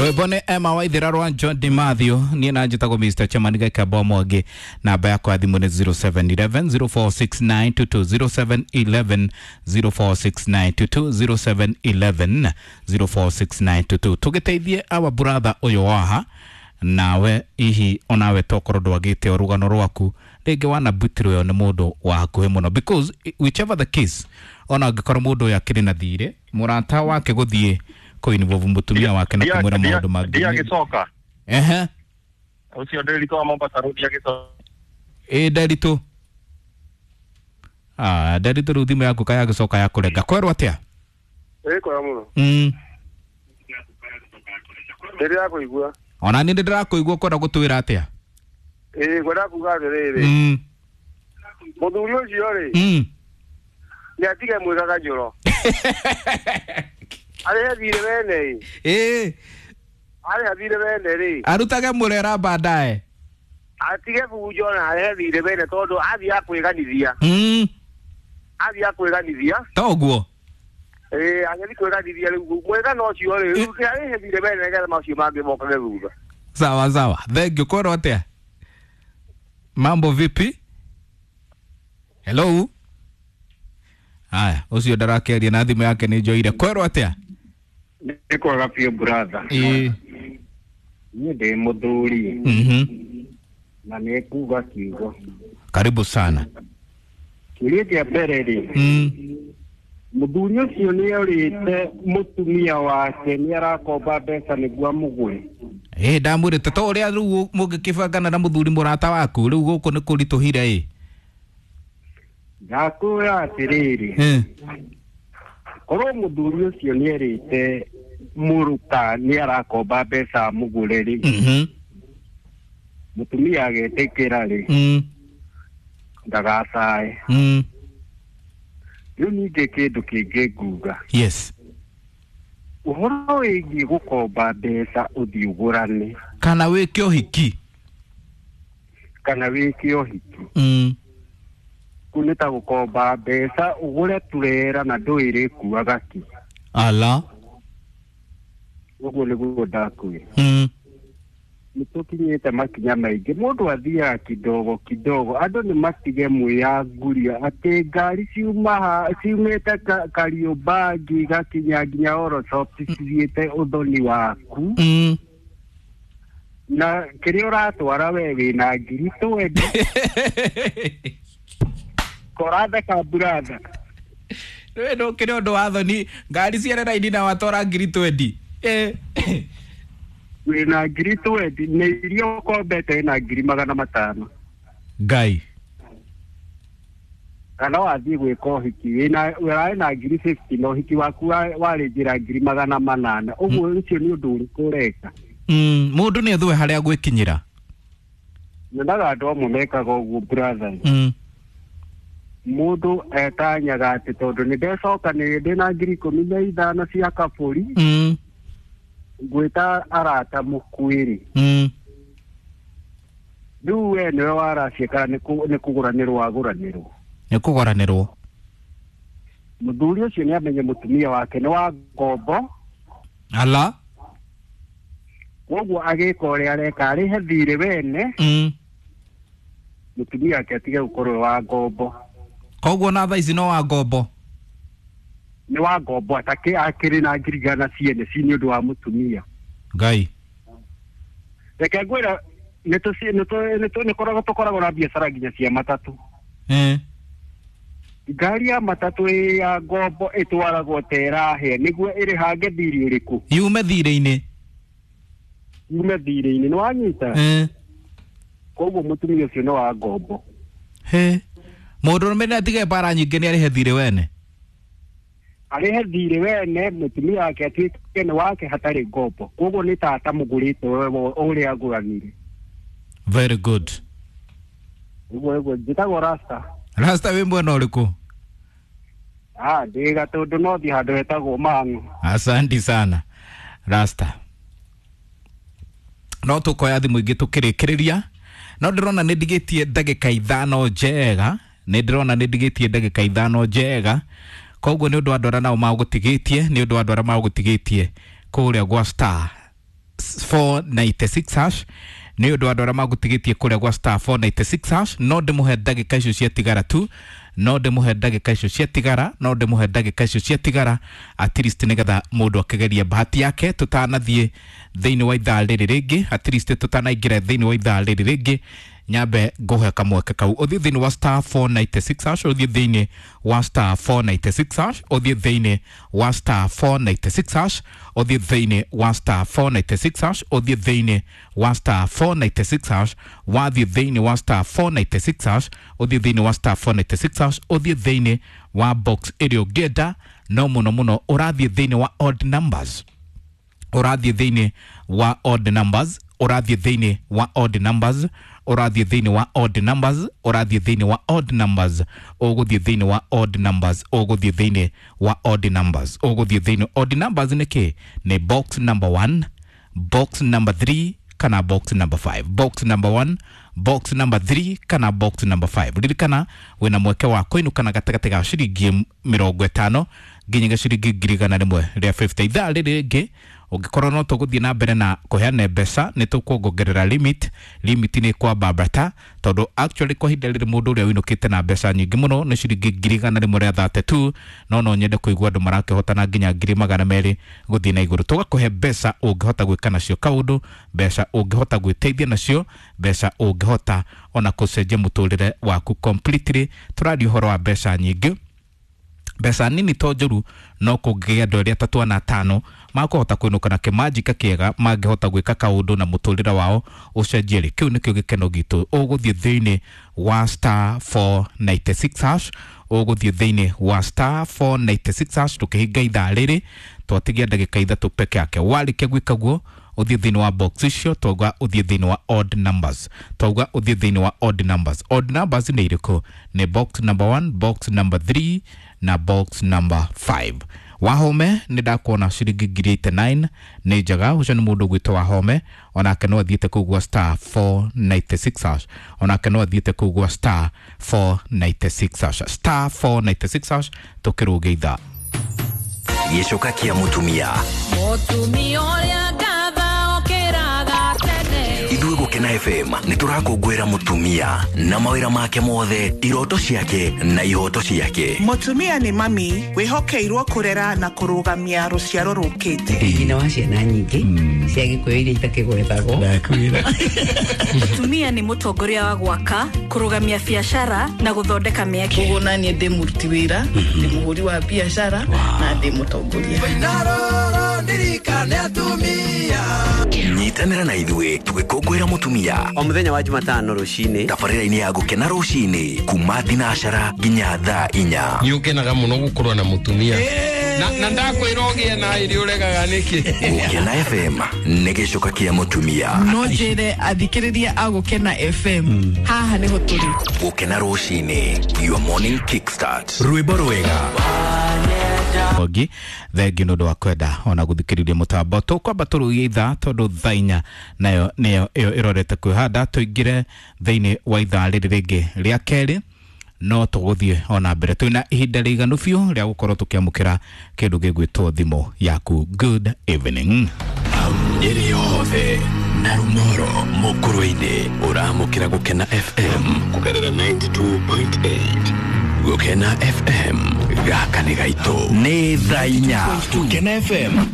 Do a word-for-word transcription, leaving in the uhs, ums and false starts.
Rwĩmbo nĩ Emma Waithera rwa John DiMathew. Niĩ na njĩtagwo Mister Chairman Gĩkamba Mwangi. Namba yakwa ya thimũ nĩ zero seven eleven zero four six nine two two, zero seven eleven zero four six nine two two, zero seven eleven zero four six nine two two. Tũgĩteithie our brother ũyũ waha nawe ihi onawe tokorwo ndwagĩte o rũgano rwaku rĩngĩ wanabutirwo nĩ mũndũ wa hakuhĩ mũno, because whichever the case, ona angĩkorwo mũndũ ũyũ akĩrĩ na thirĩ, mũrata wake gũthiĩ kũinvolve mũtumia wake na kũmwĩra maũndũ mangĩ. Ndiagĩcoka. Ehe. Ũcio Nderitu wa Mombasa Road agĩcoka. Ĩ Nderitu, ah Nderitu, rĩu thimũ yaku kayagĩcoka ya kũrenga kwerwo atĩa? Ĩ kwega mũno. Mm. Ndĩrĩ kũigua. Ona niĩ nĩndĩrakũigua, kwenda gũtwĩra atĩa? Ĩ ngwenda kuga atĩrĩrĩ, Mm. mũthuri ũcio rĩ, Mm. nĩ atige mwĩkaga njoro, arĩhe thirĩ wene ĩ. Ĩ. Arĩha thirĩ wene rĩ, arutage mũrera baadaye. Atige bunjo na arĩhe thirĩ wene, tondũ athiĩ akwĩganithia, Mm. athiĩ akwĩganithia. Toguo. Ĩ agĩthiĩ kwĩganithia rĩu mwĩgano ũcio rĩ, rĩu arĩhe thirĩ wene nĩgetha macio mangĩ mokage thutha. Sawa sawa, thank you. Kwero atĩa? Mambo vipi? Hello. Haya, ũcio ndarakĩaria na thimũ yake nĩ njoire. Kwero atĩa? Nĩ kwega biũ, brother. Ĩ. Niĩ ndĩ mũthuri Mhm. na nĩ kuga kiugo. Karibu sana. Kĩũria kĩa mbere rĩ, Mm. mũthuri ũcio nĩ orĩte mũtumia wake nĩ arakomba mbeca nĩguo amũgũre? Ĩ ndamwĩrĩte to ũrĩa rĩu mũngĩkĩbangana na mũthuri mũrata waku, rĩu gũkũ nĩ kũritũhire ĩ. Ndakwĩra atĩrĩrĩ, Eh. korwo mũthuri ũcio nĩ erĩte mũrũka nĩ arakomba mbeca amũgũre rĩ, Mhm. mũtumia agetĩkĩra rĩ, Mm. ndagacae. Mm. Rĩu ningĩ kĩndũ kĩngĩ nguga, Yes. ũhoro wĩgiĩ gũkomba mbeca ũthiĩ ũgũrane kana wĩke ũhiki kana wĩke ũhiki, Mm. kũu nĩ ta gũkomba mbeca ũgũre turera na ndũĩ ĩrĩkuaga kĩ. Ala. Ũguo nĩguo ndakwĩra. Mm. Nĩ tũkinyĩte makinya maingĩ, mũndũ athiaga kidogo kidogo. Andũ nĩ matige mwĩyanguria atĩ ngari ciuma ha ciumĩte Ka- Kariobangi igakinya nginya Orosop cithiĩte ũthoni waku, Mm. na kĩrĩa ũratwara we wĩna ngiri twendi koratheka, brother. Rĩu ndũkĩrĩ ũndũ wa thoni ngari ciere raini na watwara ngiri twendi. Eh. Wĩna ngiri twendi na iria ũkombete wĩna ngiri magana matano. Ngai. Kana wathiĩ gwĩka ũhiki wĩna ũrarĩ na ngiri fifty na ũhiki waku wa- warĩ njĩra ngiri magana manana, ũguo ũcio nĩ ũndũ ũrĩkũ ũreka? Mm. Mũndũ nĩ ethue harĩa gwĩkinyĩra. Nyonaga andũ amwe mekaga ũguo, brother. Mm. Mũndũ etanyaga atĩ tondũ nĩ ndecokanĩrĩria ndĩna ngiri ikũmi na ithano cia kabũri, Mm. ngwĩta arata mũkuĩrĩ. Mm. Rĩu we nĩwe waracia kana nĩ kũ- nĩ kũgũranĩrwo wagũranĩrwo? Nĩ kũgũranĩrwo. Mũthuri ũcio nĩ amenye mũtumia wake nĩ wa ngombo. Ala. Koguo agĩka ũrĩa areka, arĩhe thirĩ wene, Mm. mũtumia wake atige gũkorwo wa ngombo. Koguo na thaa ici no wa ngombo. Nĩ wa ngombo, atakĩ akĩrĩ na ngiri igana ciene ci nĩ ũndũ wa mũtumia. Ngai. Reke ngwĩra, nĩ tũci- nĩ tũ- nĩ tũ- nĩ koragwo tũkoragwo na biacara nginya cia matatũ. Eh. Ngari ya matatũ ĩ ya ngombo ĩtwaragwo ta ĩrahĩa nĩguo ĩrĩhange thirĩ ũrĩkũ? Yume thirĩ-inĩ. Yume thirĩ-inĩ, nĩ wanyita? Eh. Koguo mũtumia ũcio nĩ wa ngombo. He. Mũndũ nĩ atige mbara nyingĩ, nĩ arĩhe thirĩ wene. Arĩhe thirĩ wene, mũtumia wake atuĩke nĩ wake hatarĩ ngombo. Koguo nĩ tata mũgũrĩte we ũrĩa agũranire. Very good. Ũguo ũguo njĩtagwo Rasta. Rasta, wĩ mwena ũrĩkũ? Ah, ndĩ Gatũndũ nothi handũ hetagwo Mang'u. Asanti sana, Rasta. No tũkoya thimũ ingĩ tũkĩrĩkĩrĩria, no ndĩrona nĩ ndigĩtie ndagĩka ithano njega, nĩ ndĩrona nĩ ndigĩtie ndagĩka ithano njega. Koguo nĩ ũndũ wa andũ arĩa nao magũtigĩtie, nĩ ũndũ wa andũ arĩa magũtigĩtie kũrĩa gwa star four ninety-six hash nĩ ũndũ wa andũ arĩa magũtigĩtie kũrĩa gwa star four ninety-six hash no ndĩmũhe ndagĩka icio ciatigara tu no ndĩmũhe ndagĩka icio ciatigara no ndĩmũhe ndagĩka icio ciatigara at least nĩgetha mũndũ akĩgeria bahati yake tũtanathiĩ thĩinĩ wa ithaa rĩrĩ rĩngĩ at least tũtanaingĩra thĩinĩ wa ithaa rĩrĩ rĩngĩ nyambe ngũhe kamweke kau ũthiĩ thĩinĩ wa star four ninety-six hash ũthiĩ thĩinĩ wa star four ninety-six hash ũthiĩ thĩinĩ wa star four ninety-six hash ũthiĩ thĩinĩ wa star four ninety-six hash ũthiĩ thĩinĩ wa star four ninety-six hash wathiĩ thĩinĩ wa star four ninety-six hash ũthiĩ thĩinĩ wa star four ninety-six hash ũthiĩ thĩinĩ wa box ĩrĩa ũngĩenda no mũno mũno ũrathiĩ thĩinĩ wa odd numbers ũrathiĩ thĩinĩ wa odd numbers ũrathiĩ thĩinĩ wa odd numbers ũrathiĩ thĩinĩ wa odd numbers ũrathiĩ thĩinĩ wa odd numbers ũgũthiĩ thĩinĩ wa odd numbers ũgũthiĩ thĩinĩ wa odd numbers ũgũthiĩ thĩinĩ odd numbers nĩ kĩ nĩ box number one box number three kana box number five box number one box number three kana box number five ririkana wĩna mweke wa kũinũkana gatagatĩ ga ciringi mĩrongo ĩtano nginyagia ciringi ngiri igana rĩmwe rĩa fifty ithaa rĩrĩ rĩngĩ ũngĩkorwo no tũgũthiĩ na mbere na kũheana mbeca nĩ tũkuongerera limit limit nĩ kwambambata tondũ actually kwa ihinda rĩrĩ mũndũ ũrĩa ũinũkĩte na mbeca nyingĩ mũno nĩ ciringi ngiri igana rĩmwe rĩa thirty two no no nyende kũigua andũ marakĩhotana nginya ngiri magana merĩ gũthiĩ na igũrũ tũgakũhe mbeca ũngĩhota gwĩka nacio kaũndũ mbeca ũngĩhota gwĩteithia nacio mbeca ũngĩhota ona kũcenjia mũtũrĩre waku completely tũraria ũhoro wa mbeca nyingĩ mbeca nini to njũru no kũngĩgĩa andũ erĩ atatũ ana atano makũhota kũinũka na kĩmanjika kĩega mangĩhota gwĩka kaũndũ na mũtũrĩre wao ũcenjie rĩ kĩu nĩkĩo gĩkeno gitũ ũgũthiĩ thĩinĩ wa star four ninety-six hash ũgũthiĩ thĩinĩ wa star four ninety-six hash tũkĩhinga ithaa rĩrĩ twatigia ndagĩka ithatũ peke yake warĩkia gwĩka guo ũthiĩ thĩinĩ wa box icio twauga ũthiĩ thĩinĩ wa odd numbers twauga ũthiĩ thĩinĩ wa odd numbers odd numbers nĩ irĩkũ nĩ box number one box number three na box number five Wahome nĩ ndakuona ciringi ngiri eighty-nine nĩ njega ũcio nĩ mũndũ ũgwĩtwo Wahome onake no athiĩte kũu gwa star four ninety-six hash onake no athiĩte kũu gwa star four ninety-six hash star four ninety-six hash tũkĩrũge ithaa gĩcoka kĩa mũtumia mũtumia ũrĩa ngatha okĩraga tene ithuĩ Gũkena F M nĩ tũrakũngũĩra mũtumia na mawĩra make mothe iroto ciake na ihoto ciake mũtumia nĩ mami wĩhokeirwo kũrera na kũrũgamia rũciaro rũkĩte nyina wa ciana nyingĩ cia Gĩkũyũ iria itakĩgwetagwo mũtumia nĩ mũtongoria wa gwaka kũrũgamia biacara na gũthondeka mĩeke koguo naniĩ ndĩ mũruti wĩra ndĩ mũhũri wa biacara na ndĩ mũtongoria nyitanĩra na ithuĩ tũgĩkũngũĩra mũtumia o mũthenya wa Jumatano rũcinĩ tabarĩra-inĩ ya Gũkena rũcinĩ kuma thinacara nginya thaa inya nĩ ũkenaga mũno gũkorwo na mũtumia na na ndakwĩra ũgĩe na ĩrĩ ũregaga nĩkĩ Gũkena F M nĩ gĩcoka kĩa mũtumia no njĩre athikĩrĩria a Gũkena F M haha nĩho tũrĩ Gũkena rũcinĩ your morning kickstart rwĩmbo rwega Mwangi thengi nĩ ũndũ wa kwenda ona gũthikĩrĩria mũtambo tũkwamba tũrũgie ithaa tondũ thaa inya nayo nĩyo ĩyo ĩrorete kwĩhanda tũingĩre thĩinĩ wa ithaa rĩrĩ rĩngĩ rĩa kerĩ no tũgũthiĩ ona mbere twĩna ihinda rĩiganu biũ rĩa gũkorwo tũkĩamũkĩra kĩndũ gĩgwĩtwo thimũ yaku good evening Nyeri yothe na Rumoro Mũkũrwe-inĩ ũramũkĩra Gũkena F M kũgerera ninety-two point eight Gũkena F M gaka nĩ gaitũ nĩ thaa inya Gũkena F M